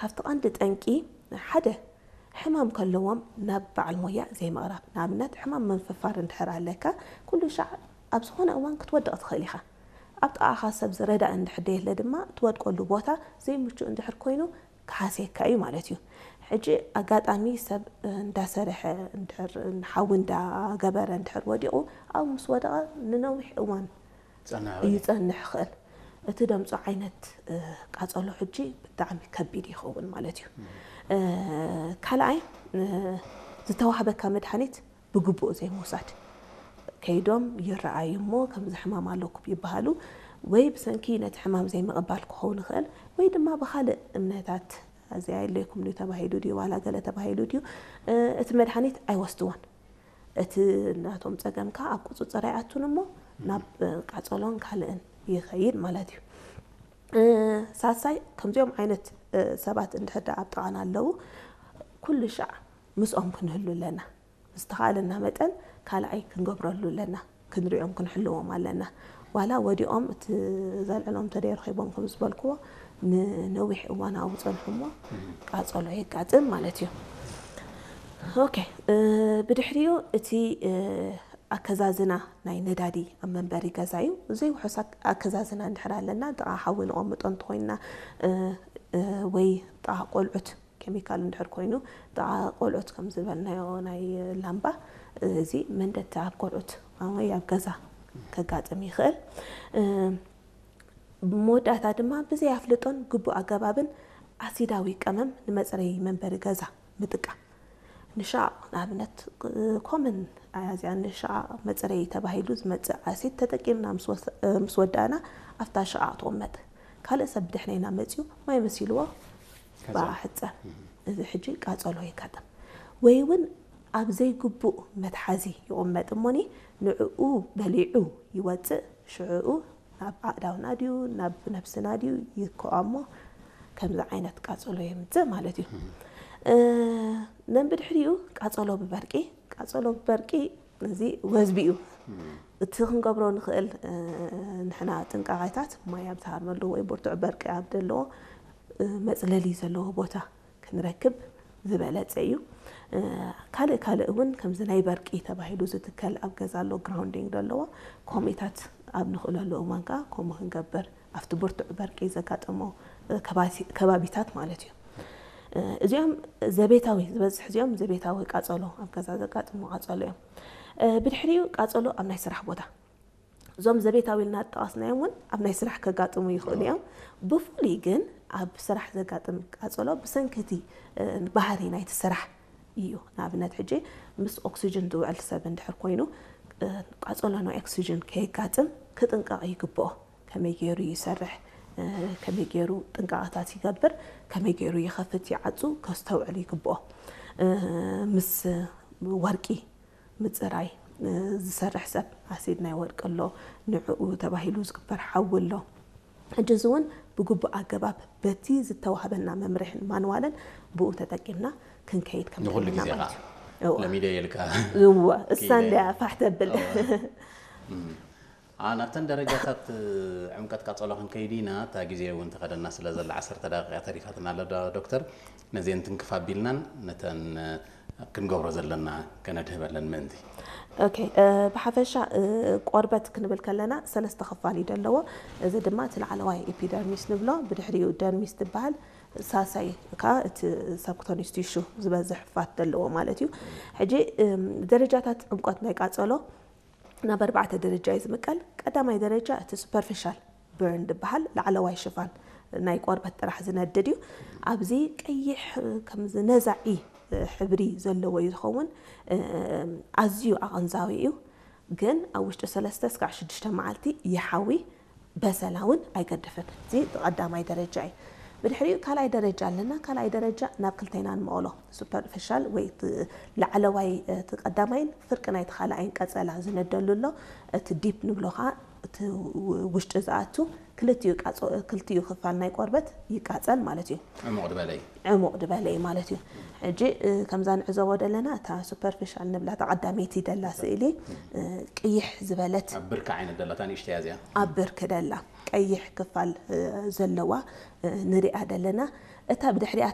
ካብቲ ቀንዲ ጠንቂ ሓደ ሕማም ከለዎም ናብ በዓል ሞያ ዘይምቕራብ። ንኣብነት ሕማም መንፍፋር እንድሕር ኣለካ፣ ኩሉ ሻዕ ኣብ ዝኾነ እዋን ክትወድቕ ትኽእል ኢኻ። ኣብ ጥቓኻ ሰብ ዝረዳእ እንድሕር ደየለ ድማ ትወድቀሉ ቦታ ዘይምቹእ እንድሕር ኮይኑ ክሓስየካ እዩ ማለት እዩ። ሕጂ ኣጋጣሚ ሰብ እንዳሰርሐ እንድሕር፣ ሓዊ እንዳገበረ እንድሕር ወዲቑ፣ ኣብኡ ምስ ወደቐ ንነዊሕ እዋን ጸንሕ ይጸንሕ ይኽእል። እቲ ደምጾ ዓይነት እ፣ ቃጸሎ ሕጂ ብጣዕሚ ከቢድ ይኸውን ማለት እዩ። እ፣ ካልኣይ እ፣ ዝተዋህበካ መድሓኒት ብግቡእ ዘይምውሳድ። ከይዶም ይረኣዩ እሞ ከምዚ ሕማም ኣለኩም ይበሃሉ፣ ወይ ብሰንኪ ነቲ ሕማም ዘይምቕባል ክኸውን ይኽእል፣ ወይ ድማ ብኻልእ እምነታት እዚኣ የለይኩም ድዩ ተባሂሉ ድዩ ዋላ ገለ ተባሂሉ ድዩ እ፣ እቲ መድሓኒት ኣይወስድዎን። እቲ ናቶም ጸገም ከኣ ኣብ ቁጽጽር ኣይኣቱን እሞ ናብ እ፣ ቃጸሎን ካልእን ይኸይድ ማለት እዩ። እ፣ ሳልሳይ ከምዚኦም ዓይነት እ፣ ሰባት እንድሕር ደኣ ኣብ ጥቓና ኣለዉ፣ ኩሉ ሻዕ ምስኦም ክንህሉ ኣለና። ዝተኻእለና መጠን ካልኣይ ክንገብረሉ ኣለና፣ ክንሪኦም ክንሕልዎም ኣለና። ዋላ ወዲቖም እቲ ዘልዕሎም ተደይረኺቦም ከም ዝበልክዎ ንነዊሕ እዋን ኣብኡ ጸንሑ እሞ ቃጸሎ የጋጥም ማለት እዩ። ኦኬ እ፣ ብድሕሪኡ እቲ እ፣ ኣከዛዝና ናይ ነዳዲ ኣብ መንበሪ ገዛ እዩ። ዘይውሑስ ኣክ- ኣከዛዝና እንድሕር ኣለና ጥቓ ሓዊ ንቐምጦ እንተኾይንና እ፣ እ፣ ወይ ጥቓ ቆልዑት ኬሚካል እንድሕር ኮይኑ ጥቓ ቆልዑት ከም ዝበልናዮ ናይ ላምባ እዚ መንደቲ ኣብ ቆልዑት ወይ ኣብ ገዛ ከጋጥም ይኽእል። እ፣ መወዳእታ ድማ ብዘይ ኣፍልጦን ግቡእ ኣገባብን ኣሲዳዊ ቀመም ንመጽረዪ መንበሪ ገዛ ምጥቃም። ንሻቕ ንኣብነት ኮመን ኣዚኣ ንሻቕ መጽረዪ ተባሂሉ ዝመጽእ ኣሲድ ተጠቂምና ምስ ወስ- ምስ ወዳእና ኣብታ ሻቕ ትቕመጥ። ካልእ ሰብ ብድሕሬና መጺኡ ማይ መሲልዎ ከዛ- ብኣ ሕጸብ። እዚ ሕጂ ቃጸሎ የጋጥም። ወይ እውን ኣብ ዘይግቡእ መትሓዚ ይቕመጥ እሞኒ ንዕኡ በሊዑ ይወጽእ፣ ሽዕኡ ናብ ኣእዳውና ድዩ ናብ ነብስና ድዩ ይከኦ እሞ ከምዚ ዓይነት ቃጸሎ የምጽእ ማለት እዩ። እ፣ ነንብድሕሪኡ ቃጸሎ ብበርቂ፣ ቃጸሎ ብበርቂ እዚ ወዝቢ እዩ። እቲ ክንገብሮ ንኽእል እ፣ ንሕና ጥንቃቄታት ማይ ኣብ ዝሃርመሉ ወይ ብርቱዕ በርቂ ኣብ ዘለዎ እ፣ መጽለሊ ዘለዎ ቦታ ክንረክብ ዝበለጸ እዩ። እ፣ ካልእ ካልእ እውን ከምዚ ናይ በርቂ ተባሂሉ ዝትከል ኣብ ገዛ ኣሎ ግራውንዲንግ ዘለዎ ኮሚታት ኣብ ንኽእለሉ እዋን ከዓ ከምኡ ክንገብር ኣብቲ ብርቱዕ በርቂ ዘጋጠሞ እ፣ ከባሲ- ከባቢታት ማለት እዩ። እ፣ እዚኦም ዘቤታዊ ዝበዝሕ እዚኦም ዘቤታዊ ቃጸሎ ኣብ ገዛ ዘጋጥሙ ቃጸሎ እዮም። እ፣ ብድሕሪኡ ቃጸሎ ኣብ ናይ ስራሕ ቦታ እዞም ዘቤታዊ ኢልና ዝጠቐስናዮም እውን ኣብ ናይ ስራሕ ከጋጥሙ ይኽእሉ እዮም። ብፍሉይ ግን ኣብ ስራሕ ዘጋጥም ቃጸሎ ብሰንኪ እቲ እ፣ ባህሪ ናይቲ ስራሕ እዩ። ንኣብነት ሕጂ ምስ ኦክሲጅን ዝውዕል ሰብ እንድሕር ኮይኑ እ፣ ቃጸሎ ናይ ኦክሲጅን ከየጋጥም ክጥንቀቕ ይግብኦ። ከመይ ገይሩ ይሰርሕ፣ እ፣ ከመይ ገይሩ ጥንቃቐታት ይገብር፣ ከመይ ገይሩ ይኸፍት ይዓጹ ከስተውዕል ይግብኦ። እ፣ ምስ ወርቂ ምጽራይ እ፣ ዝሰርሕ ሰብ ኣሲድ ናይ ወርቂ ኣሎ፣ ንዕኡ ተባሂሉ ዝግበር ሓዊ ኣሎ። ሕጂ እዚ እውን ብግቡእ ኣገባብ በቲ ዝተዋህበና መምርሕን ማንዋልን ብኡ ተጠቂምና ክንከይድ ከም ንኹሉ ዘለና ግዜ ማለት ኸዓ እዩ። እወ። ለሚደ የልካ እወ፣ እሳ ክኢለ። እንድያ ፋሕ ተብል። እወ። እም። አ፣ ናብተን ደረጃታት እ፣ ዕምቀት ቃጸሎ ክንከይድ ኢና። እታ ግዜ እውን ተኸደና ስለ ዘላ ዓሰርተ ደቂቃ ተሪፋትና ኣለ ዶ- ዶክተር። ነዚአን ትንክፍ ኣቢልናን ነተን እ፣ ክንገብሮ ዘለና ከነድህበለን ምእንቲ። ኦኬ እ፣ ብሓፈሻ እ፣ ቆርበት ክንብል ከለና ሰለስተ ክፋል እዩ ዘለዎ። እዚ ድማ እቲ ላዕለዋይ ኤፒደርሚስ ንብሎ፣ ብድሕሪኡ ደርሚስ ትበሃል፣ ሳሳይ ከዓ እቲ ሰብኩተኒስ ቲሹ ዝበዝሕ ፋት ዘለዎ ማለት እዩ። ሕጂ እም፣ ደረጃታት ዕምቆት ናይ ቃጸሎ ናብ ኣርባዕተ ደረጃ እዩ ዝምቀል። ቀዳማይ ደረጃ እቲ ሱፐርፊሻል በርን ዝበሃል ላዕለዋይ ሽፋን ናይ ቆርበት ጥራሕ ዝነድድ እዩ። ኣብዚ ቀይሕ እ፣ ከምዚ ነዛዒ እ፣ ሕብሪ ዘለዎ እዩ ዝኸውን። እ፣ ኣዝዩ ኣቐንዛዊ እዩ፣ ግን ኣብ ውሽጢ ሰለስተ እስካዕ ሽዱሽተ መዓልቲ ይሓዊ፣ በሰላ እውን ኣይገድፍን። እዚ ቀዳማይ ደረጃ እዩ። ብድሕሪኡ ካልኣይ ደረጃ ኣለና። ካልኣይ ደረጃ ናብ ክልተ ኢና ንመቐሎ። ሱፐርፊሻል ወይ እቲ ላዕለዋይ እቲ ቀዳማይን ፍርቂ ናይቲ ካልኣይን ቀጸላ ዝነደሉ ኣሎ። እቲ ዲፕ ንብሎ ከዓ እቲ ውሽጢ ዝኣቱ ክልቲኡ ቃጾ- ክልቲኡ ክፋል ናይ ቆርበት ይቃጸል ማለት እዩ። ዕሙቕ ዝበለ እዩ። ዕሙቕ ዝበለ እዩ ማለት እዩ። ሕጂ እ፣ ከምዛ ንዕዘቦ ዘለና እታ ሱፐርፊሻል ንብላ እታ ቀዳመይቲ ደላ ስእሊ እ፣ ቅይሕ ዝበለት ኣብ ብርኪ ዓይነት ደላታ ንእሽተያ እዚኣ። ኣብ ብርኪ ደላ ቀይሕ ክፋል እ፣ ዘለዋ እ፣ ንሪኣ ደለና። እታ ብድሕሪኣ